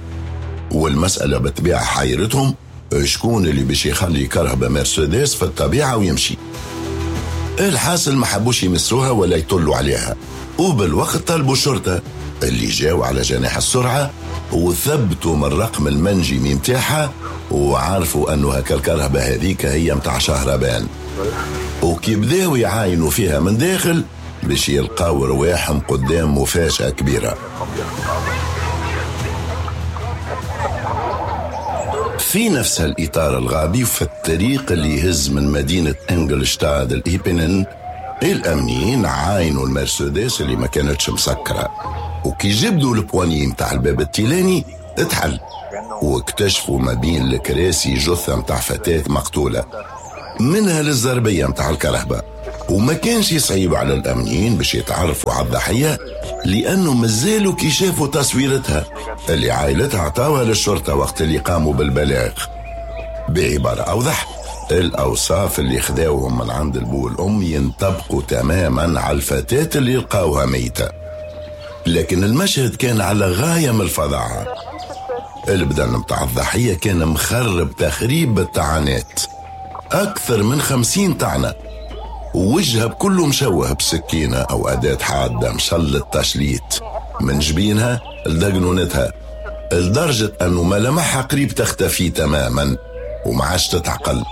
والمسألة بالطبيعة حيرتهم، شكون اللي باش يخلي كرهبة مرسيدس في الطبيعة ويمشي؟ الحاصل ما حبوش يمسوها ولا يطلوا عليها، وبالوقت طلبوا الشرطة اللي جاوا على جناح السرعة وثبتوا من الرقم المنجمي متاعها، وعرفوا أنه هكا الكرهبة هذيك هي متاع شهربان. وكي بداوا يعاينوا فيها من داخل باش يلقاو رواحهم قدام مفاجأة كبيرة. في نفس الإطار الغابي في الطريق اللي يهز من مدينة إنجلشتاد الإيبنن، الأمنيين عاينوا المرسيدس اللي ما كانتش مسكرة، وكي جبدوا ال poignée متاع الباب التيلاني اتحل، واكتشفوا ما بين الكراسي جثة متاع فتاة مقتولة منها للزربية متاع الكرهبة. وما كانش صعيب على الأمنيين باش يتعرفوا على الضحية، لأنه مازالوا كي شافوا تصويرتها اللي عائلتها عطاوها للشرطة وقت اللي قاموا بالبلاغ. بعبارة أوضح، الأوصاف اللي خداوهم من عند البو والأم ينطبقوا تماما على الفتاة اللي لقاوها ميتة. لكن المشهد كان على غاية من الفظاعة. البدن متاع الضحية كان مخرب تخريب بالطعنات، أكثر من خمسين طعنة، ووجهها بكله مشوه بسكينة أو أداة حادة مشلت تشليت من جبينها لدقنونتها، لدرجة أنه ملامحها قريب تختفي تماما ومعاش تتعقل.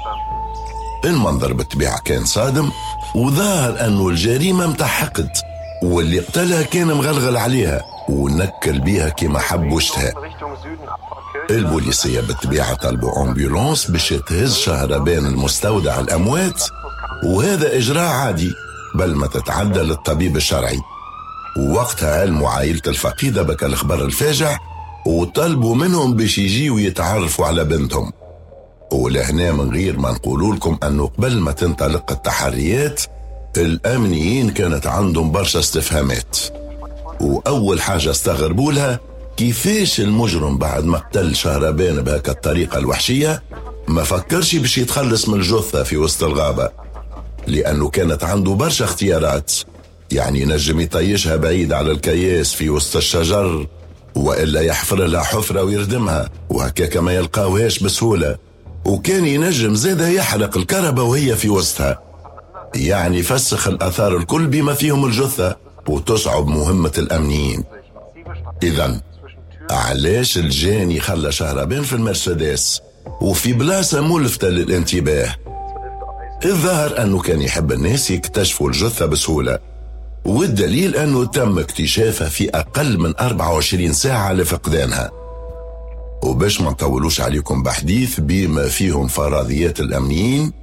المنظر بالطبيعة كان صادم، وظاهر أنه الجريمة متاع حقد، واللي قتلها كان مغلغل عليها ونكل بيها كما حب واشتهى. البوليسية بالطبيعة طلبوا ambulance باش تهز شهربان المستودع الأموات، وهذا إجراء عادي بل ما تتعدى للطبيب الشرعي. ووقتها علموا عائلة الفقيدة بك الخبر الفاجع، وطلبوا منهم باش يجيوا يتعرفوا على بنتهم. ولهنا من غير ما نقولوا لكم أنه قبل ما تنطلق التحريات الأمنيين كانت عندهم برشا استفهامات، وأول حاجة استغربوا لها كيفاش المجرم بعد ما قتل شهربان بهكا الطريقة الوحشية ما فكرش باش يتخلص من الجثة في وسط الغابة، لأنه كانت عنده برشا اختيارات، يعني نجم يطيشها بعيد على الكياس في وسط الشجر، وإلا يحفر لها حفرة ويردمها وهكاك ما يلقاوهاش بسهولة، وكان ينجم زادها يحرق الكهرباء وهي في وسطها، يعني فسخ الأثار الكل بما فيهم الجثة وتصعب مهمة الأمنيين. إذن علاش الجاني خلى شهربان في المرسيدس وفي بلاصة ملفتة للانتباه؟ الظاهر أنه كان يحب الناس يكتشفوا الجثة بسهولة، والدليل أنه تم اكتشافها في أقل من أربعة وعشرين ساعة لفقدانها. وباش ما نطولوش عليكم بحديث بما فيهم فرضيات الأمنيين،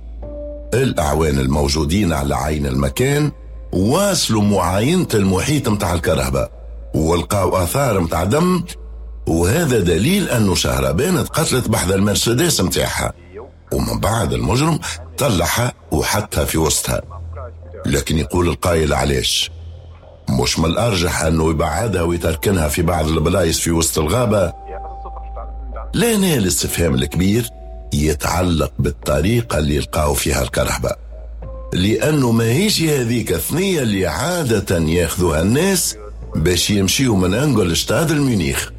الأعوان الموجودين على عين المكان واصلوا معاينة المحيط متاع الكرهبة ولقاو آثار متاع دم، وهذا دليل أنه شهربان تقتلت بحذا المرسيدس متاعها، ومن بعد المجرم طلعها وحطها في وسطها. لكن يقول القائل علاش؟ مش من الأرجح أنه يبعدها ويتركنها في بعض البلايص في وسط الغابة؟ لا، نال الاستفهام الكبير يتعلق بالطريقة اللي لقاو فيها الكرهبة، لأنه ما هيش هذيك الثنية اللي عادة ياخذوها الناس باش يمشيوا من انجلشتاد لميونيخ،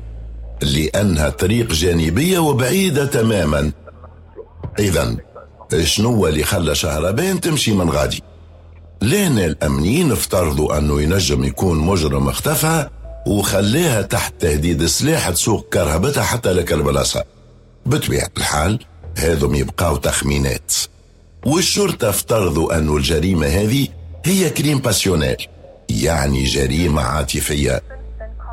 لأنها طريق جانبية وبعيدة تماما. إذن شنو اللي خلى شهربان تمشي من غادي؟ لأن الأمنيين افترضوا أنه ينجم يكون مجرم اختفى وخليها تحت تهديد سلاح تسوق كرهبتها حتى لك البلاصة. بطبيعة الحال هذم يبقاو تخمينات، والشرطة افترضوا أنه الجريمة هذه هي crime passionnel، يعني جريمة عاطفية،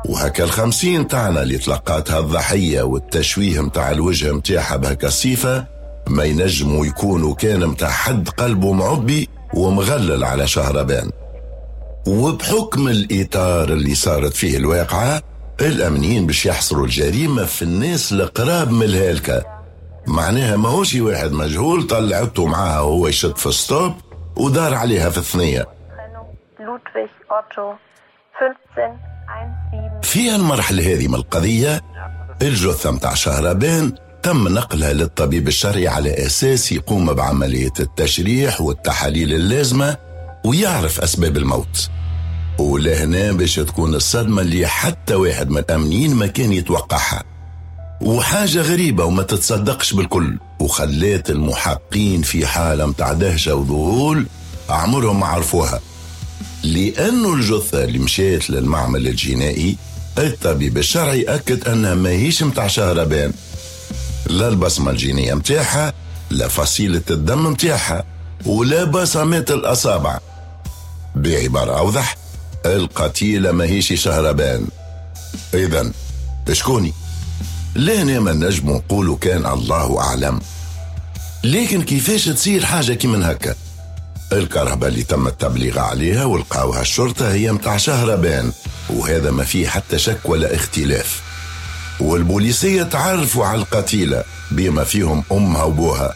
وهكا الخمسين طعنة اللي تلقاتها الضحية والتشويه متاع الوجه متاعها بهكا الصفة ما ينجموا يكونوا كان متاع حد قلبه معبي ومغلل على شهربان. وبحكم الإطار اللي صارت فيه الواقعة، الأمنيين باش يحصروا الجريمة في الناس القراب من الهالكة، معناها ماهوش واحد مجهول طلعته معاها وهو يشد في stop ودار عليها في الثنية. Ludwig Otto في المرحلة هذه من القضية الجثة متاع شهربان تم نقلها للطبيب الشرعي على أساس يقوم بعملية التشريح والتحاليل اللازمة ويعرف أسباب الموت. ولهنا باش تكون الصدمة اللي حتى واحد من الأمنيين ما كان يتوقعها، وحاجة غريبة وما تتصدقش بالكل، وخلات المحقين في حالة متاع دهشة وذهول عمرهم ما عرفوها. لأنه الجثة اللي مشيت للمعمل الجنائي الطبيب الشرعي أكد أنها ماهيش متاع شهربان، لا البصمة الجينية متاعها، لا فصيلة الدم متاعها، ولا بصمات الأصابع. بعبارة أوضح، القتيلة ماهيش شهربان. إذن شكوني؟ لهنا ما نجم نقولوا كان الله أعلم. لكن كيفاش تصير حاجة كي من هكا؟ الكهرباء اللي تم التبليغ عليها ولقاوها الشرطة هي متاع شهربان، وهذا ما فيه حتى شك ولا اختلاف. والبوليسية تعرفوا على القتيلة بما فيهم أمها وبوها.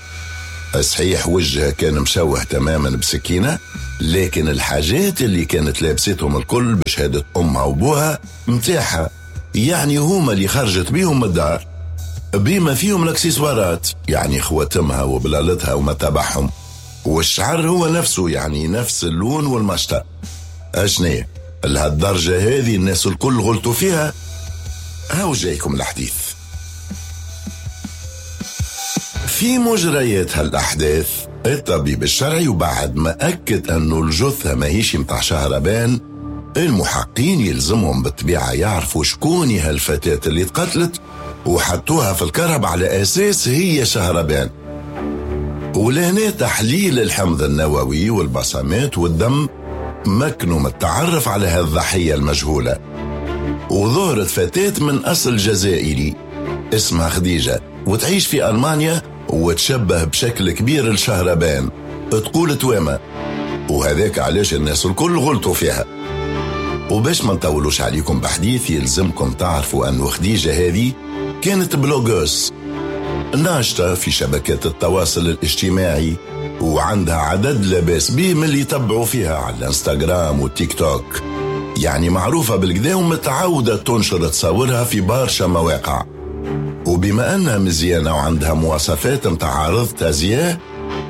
صحيح وجهها كان مشوه تماما بسكينة، لكن الحاجات اللي كانت لابستهم الكل بشهادة أمها وبوها متاحة، يعني هما اللي خرجت بيهم من الدار، بما فيهم الاكسسوارات، يعني خواتمها وبلالتها وما تبعهم، والشعر هو نفسه، يعني نفس اللون والمشطة. أشنية لهالدرجة هذه الناس الكل غلطوا فيها؟ هاو جايكم الحديث. في مجريات هالأحداث الطبيب الشرعي وبعد ما أكد أنه الجثة ماهيش متاع شهربان، المحقين يلزمهم بالطبيعة يعرفوا شكون هالفتاة اللي تقتلت وحطوها في الكهرباء على أساس هي شهربان. ولهنا تحليل الحمض النووي والبصمات والدم مكنوا من التعرف على هالضحية المجهولة. وظهرت فتاة من أصل جزائري اسمها خديجة، وتعيش في ألمانيا، وتشبه بشكل كبير لشهربان، تقول توامة، وهذاك علاش الناس الكل غلطوا فيها. وباش ما نطولوش عليكم بحديث، يلزمكم تعرفوا أن خديجة هذه كانت blogueuse ناشطة في شبكات التواصل الاجتماعي، وعندها عدد لاباس به من اللي يتبعوا فيها على الانستغرام والتيك توك، يعني معروفة بالكدا ومتعودة تنشر تصاورها في برشا مواقع. وبما أنها مزيانة وعندها مواصفات متاع عارضة أزياء،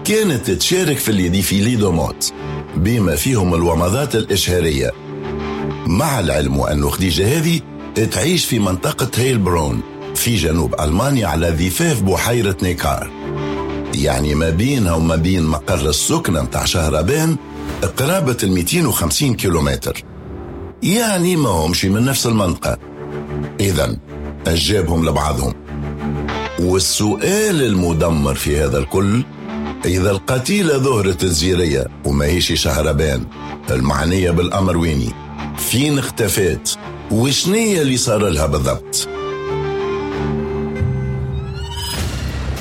كانت تشارك في les défilés de mode بما فيهم الومضات الإشهارية. مع العلم أن خديجة هذه تعيش في منطقة هيلبرون في جنوب ألمانيا على ضفاف بحيرة نيكار، يعني ما بينها وما بين مقر السكنة متاع شهربان قرابة المئتين وخمسين كيلومتر، يعني ما همش من نفس المنطقة. إذن أجابهم لبعضهم. والسؤال المدمر في هذا الكل، إذا القتيلة ظهرت الزيرية وما هيش شهربان المعنية بالأمر ويني؟ فين اختفت؟ وشنية اللي صار لها بالضبط؟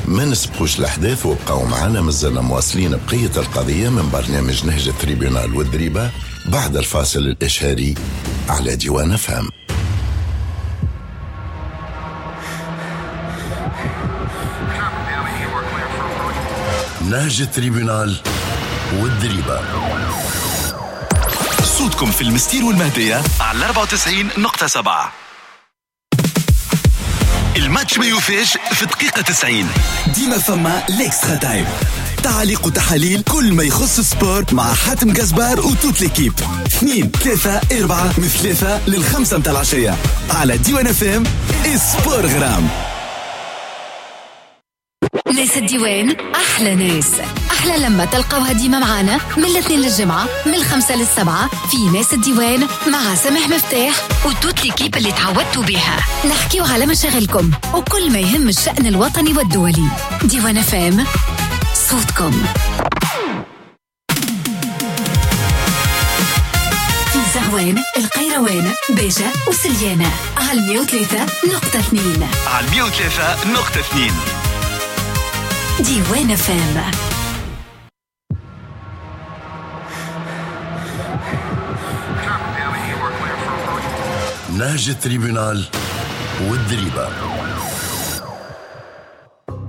ما نسبقوش الأحداث وابقوا معنا، مازلنا مواصلين بقية القضية من برنامج نهج ال tribunal والدريبة بعد الفاصل الإشهاري على ديوان فهم. نهج ال tribunal والدريبة، صوتكم في المستير والمهدية على أربعة وتسعين نقطة سبعة. الماتش ما يوفيش في دقيقة تسعين، ديما فما l'extra time، تعليق وتحاليل كل ما يخص ال sport مع حاتم قزبار و toute l'équipe. اثنين ثلاثة أربعة من ثلاثة للخمسة متاع العشية على ديوان اف ام sport غرام. ناس الديوان أحلى ناس، أحلى لما تلقوها ديما معانا من الاثنين للجمعة من الخمسة للسبعة في ناس الديوان مع سامح مفتاح و toute l'équipe اللي تعودتوا بها. نحكيو على مشاغلكم وكل ما يهم الشأن الوطني والدولي. ديوان اف ام صوتكم. في زغوان، القيروان، باجة وسليانة على مية وثلاثة نقطة اثنين، على مية وثلاثة نقطة اثنين ديوان فام. نهج ال tribunal والدريبة.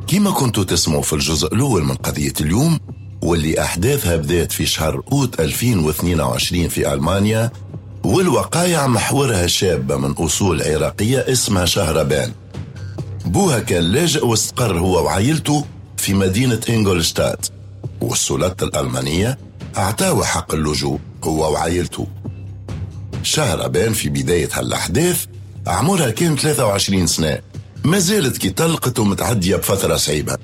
كما كنتوا تسمعوا في الجزء الأول من قضية اليوم، واللي أحداثها بدأت في شهر أوت ألفين واثنين وعشرين في ألمانيا، والوقايع محورها شابة من أصول عراقية اسمها شهربان. بوها كان لاجئ واستقر هو وعائلته في مدينة إنغولشتات، والسلطة الألمانية أعطاه حق اللجوء هو وعائلته. شهربان في بداية هالأحداث عمرها كان ثلاثة وعشرين سنة، ما زالت كي طلقت ومتعدية بفترة صعيبة.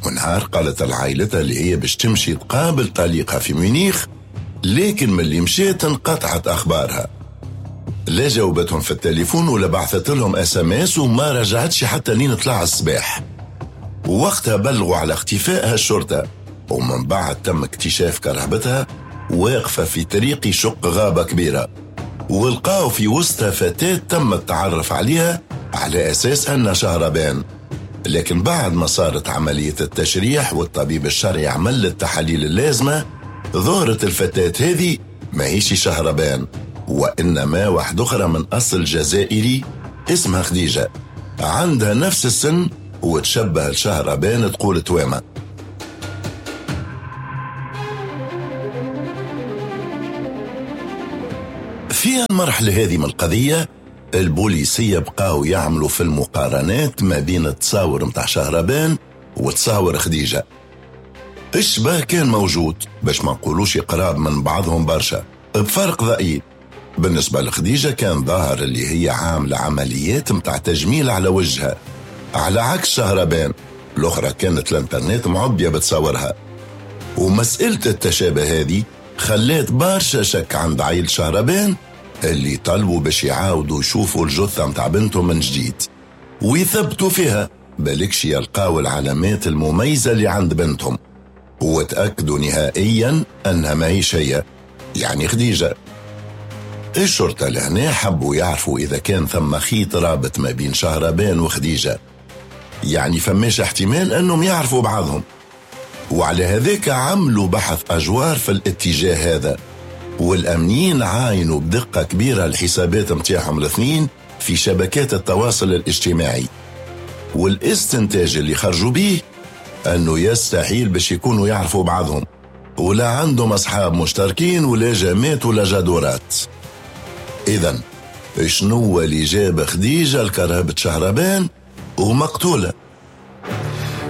ونهار قالت لعائلتها اللي هي باش تمشي تقابل طليقها في ميونيخ، لكن من اللي مشيت انقطعت أخبارها، لا جاوبتهم في التليفون ولا بعثت لهم SMS، وما رجعتش حتى لين طلع الصباح. ووقتها بلغوا على اختفائها الشرطة، ومن بعد تم اكتشاف كرهبتها واقفة في طريق يشق غابة كبيرة، ولقاو في وسطها فتاة تم التعرف عليها على أساس أنها شهربان. لكن بعد ما صارت عملية التشريح والطبيب الشرعي عمل التحاليل اللازمة، ظهرت الفتاة هذه ما هيش شهربان، وإنما واحدة أخرى من أصل جزائري اسمها خديجة، عندها نفس السن وتشبه لشهربان تقول توامة. في المرحلة هذه من القضية البوليسية بقاو يعملوا في المقارنات ما بين التصاور متاع شهربان وتصاور خديجة. الشبه كان موجود باش ما نقولوش قراب من بعضهم برشا، بفرق ضئيل. بالنسبة لخديجة كان ظاهر اللي هي عاملة عمليات متاع تجميل على وجهها، على عكس شهربان الأخرى كانت الانترنت معبية بتصورها. ومسألة التشابه هذه خلات برشا شك عند عائلة شهربان اللي طلبوا باش يعاودوا يشوفوا الجثة متاع بنتهم من جديد ويثبتوا فيها بالكش يلقاو العلامات المميزة اللي عند بنتهم، وتأكدوا نهائيا أنها ما هي شيء، يعني خديجة. الشرطة لهنا حبوا يعرفوا إذا كان ثم خيط رابط ما بين شهربان وخديجة، يعني فماش احتمال أنهم يعرفوا بعضهم. وعلى هذاك عملوا بحث أجوار في الاتجاه هذا، والأمنيين عاينوا بدقة كبيرة الحسابات متاعهم الاثنين في شبكات التواصل الاجتماعي، والاستنتاج اللي خرجوا به أنه يستحيل باش يكونوا يعرفوا بعضهم، ولا عندهم أصحاب مشتركين ولا جامات ولا جادورات. إذن شنو اللي جاب خديجة لكرهبة شهربان ومقتولة؟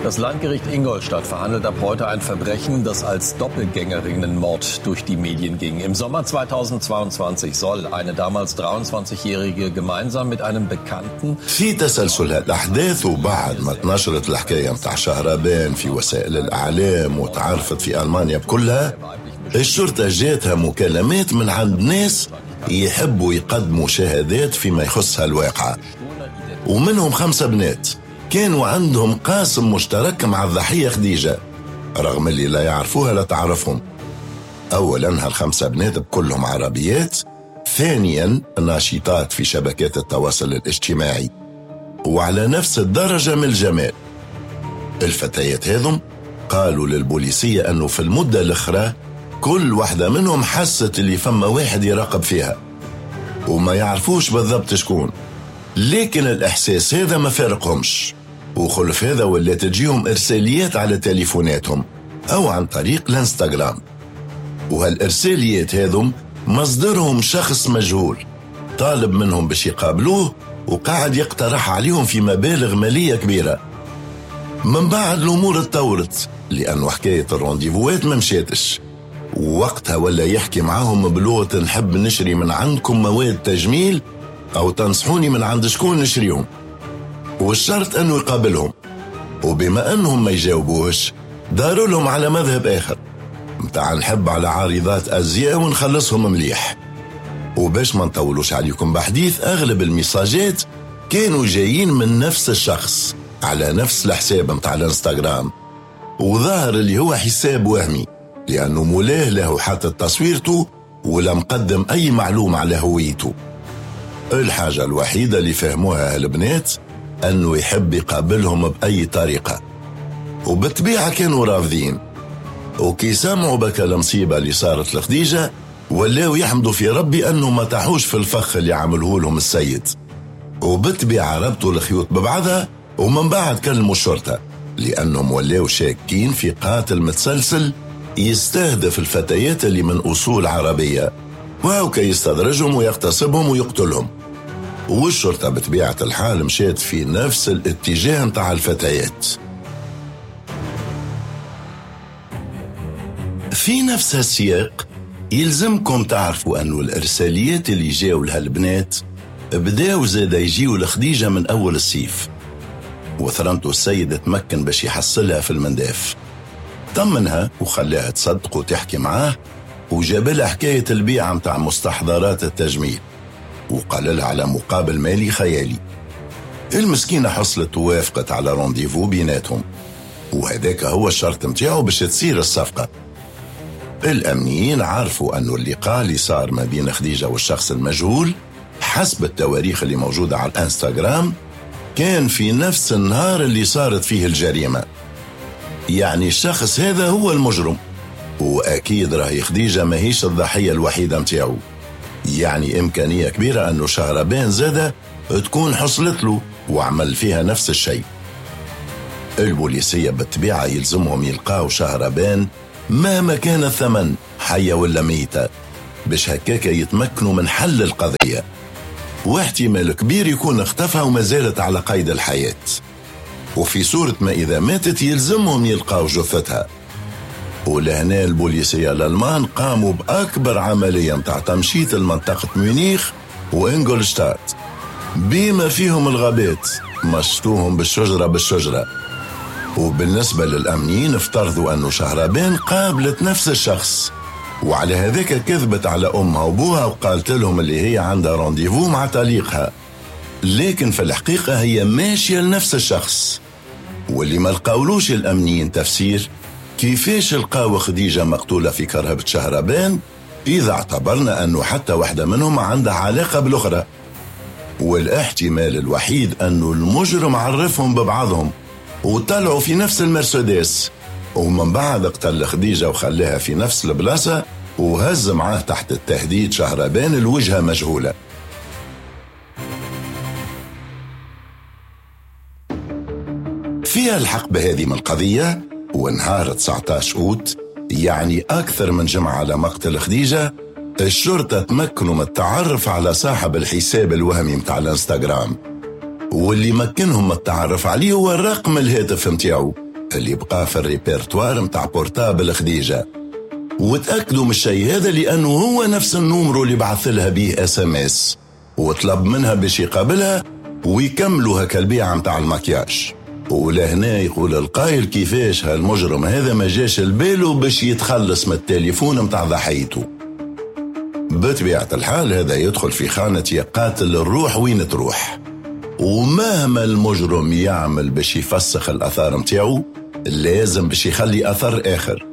Das Landgericht Ingolstadt verhandelt ab heute ein Verbrechen, das als Doppelgängerinnenmord durch die Medien ging. Im Sommer zweitausendzweiundzwanzig soll eine damals dreiundzwanzigjährige gemeinsam mit einem Bekannten في تسلسل الأحداث وبعد ما تنشرت الحكاية متاع شهربان في وسائل الإعلام وتعرفت في ألمانيا بكلها، الشرطة جاتها مكالمات من عند ناس يحبوا يقدموا شهادات فيما يخصها الواقعة، ومنهم خمسة بنات كانوا عندهم قاسم مشترك مع الضحية خديجة رغم اللي لا يعرفوها لا تعرفهم. أولاً هالخمسة بنات بكلهم عربيات، ثانياً ناشطات في شبكات التواصل الاجتماعي وعلى نفس الدرجة من الجمال. الفتيات هذم قالوا للبوليسية أنه في المدة الأخرى كل واحدة منهم حست اللي فما واحد يراقب فيها وما يعرفوش بالضبط شكون، لكن الإحساس هذا ما فارقهمش، وخلف هذا ولا تجيهم إرساليات على تليفوناتهم أو عن طريق الانستغرام، وهالإرساليات هذم مصدرهم شخص مجهول طالب منهم باش يقابلوه وقاعد يقترح عليهم في مبالغ مالية كبيرة. من بعد الأمور اتطورت لأنه حكاية الرونديفوات ما مشاتش، ووقتها ولا يحكي معاهم بلغة نحب نشري من عندكم مواد تجميل أو تنصحوني من عند شكون نشريهم، والشرط أنه يقابلهم. وبما أنهم ما يجاوبوش داروا لهم على مذهب آخر متاع نحب على عارضات أزياء ونخلصهم مليح. وباش ما نطولوش عليكم بحديث، أغلب المساجات كانوا جايين من نفس الشخص على نفس الحساب متاع الانستغرام، وظاهر اللي هو حساب وهمي لأنه مولاه له حتى تصويرته ولا مقدم أي معلومة على هويته. الحاجة الوحيدة اللي فهموها البنات أنه يحب يقابلهم بأي طريقة، وبالطبيعة كانوا رافضين. وكي سمعوا بك المصيبة اللي صارت لخديجة ولاو يحمدوا في ربي أنه ما تحوش في الفخ اللي عمله لهم السيد، وبالطبيعة ربطوا الخيوط ببعضها. ومن بعد كلموا الشرطة لأنهم ولاو شاكين في قاتل متسلسل يستهدف الفتيات اللي من أصول عربية، وهو يستدرجهم ويغتصبهم ويقتلهم. والشرطة بطبيعة الحال مشات في نفس الاتجاه متاع الفتيات. في نفس السياق يلزمكم تعرفوا أنه الإرساليات اللي جاوا لها البنات بداوا زاد يجيوا لخديجة من أول الصيف، وثرنتو السيد تمكن باش يحصلها في المنداف، طمنها وخلاها تصدق وتحكي معاه، وجاب لها حكاية البيعة متاع مستحضرات التجميل، وقال لها على مقابل مالي خيالي. المسكينة حصلت ووافقت على rendez-vous بيناتهم، وهذاك هو الشرط متاعه باش تصير الصفقة. الأمنيين عرفوا أنه اللقاء اللي صار ما بين خديجة والشخص المجهول حسب التواريخ اللي موجودة على الانستغرام كان في نفس النهار اللي صارت فيه الجريمة، يعني الشخص هذا هو المجرم، وأكيد راهي خديجة ماهيش الضحية الوحيدة متاعه، يعني إمكانية كبيرة أنه شهربان زادة تكون حصلت له وعمل فيها نفس الشيء. البوليسية بالطبيعة يلزمهم يلقاو شهربان مهما كان الثمن، حية ولا ميتة، باش هكاك يتمكنوا من حل القضية، واحتمال كبير يكون اختفى وما زالت على قيد الحياة، وفي صورة ما إذا ماتت يلزمهم يلقاو جثتها. ولهنا البوليسية الألمان قاموا بأكبر عملية متاع تمشيط المنطقة ميونيخ وإنجولشتات بما فيهم الغابات، مشطوهم بالشجرة بالشجرة. وبالنسبة للأمنيين افترضوا أنه شهربان قابلت نفس الشخص، وعلى هذاك كذبت على أمها وبوها وقالت لهم اللي هي عندها rendez-vous مع طليقها، لكن في الحقيقة هي ماشية لنفس الشخص. واللي ما لقاولوش الأمنيين تفسير كيفاش لقاو خديجة مقتولة في كرهبة شهربان إذا اعتبرنا أنه حتى واحدة منهم عندها علاقة بالأخرى. والاحتمال الوحيد أنه المجرم عرفهم ببعضهم وطلعوا في نفس المرسيدس، ومن بعد قتل خديجة وخلاها في نفس البلاصة وهز معاه تحت التهديد شهربان الوجهة مجهولة. فيها الحقبة هذه من القضية، ونهار تسعة عشر أوت، يعني أكثر من جمعة على مقتل خديجة، الشرطة تمكنوا من التعرف على صاحب الحساب الوهمي متاع الانستغرام، واللي مكنهم من التعرف عليه هو الرقم الهاتف متاعه اللي بقى في الريبرتوار متاع portable خديجة. وتأكدوا من الشيء هذا لأنه هو نفس ال numéro اللي بعث لها به SMS وطلب منها باش يقابلها ويكملوا هكا البيعة متاع المكياج. ولهنا يقول القائل كيفاش هالمجرم هذا ما جاش البالو باش يتخلص من التليفون متاع ضحيته. بطبيعة الحال هذا يدخل في خانة يقاتل الروح وين تروح، ومهما المجرم يعمل باش يفسخ الأثار متاعه لازم باش يخلي أثر آخر،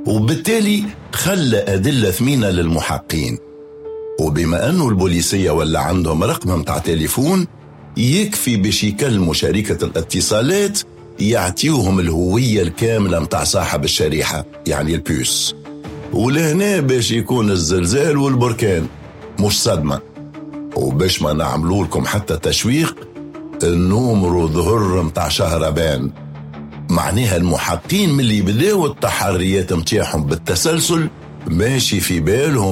وبالتالي خلى أدلة ثمينة للمحقين. وبما أنه البوليسية ولا عندهم رقم متاع تليفون يكفي باش يكلموا شركة الاتصالات يعطيوهم الهوية الكاملة متاع صاحب الشريحة يعني ال puce. ولهنا باش يكون الزلزال والبركان مش صدمة. وباش ما نعملوا لكم حتى تشويق، ال numéro ظهر متاع شهربان، معناها المحقين من اللي بداوا التحريات متاعهم بالتسلسل ماشي في بالهم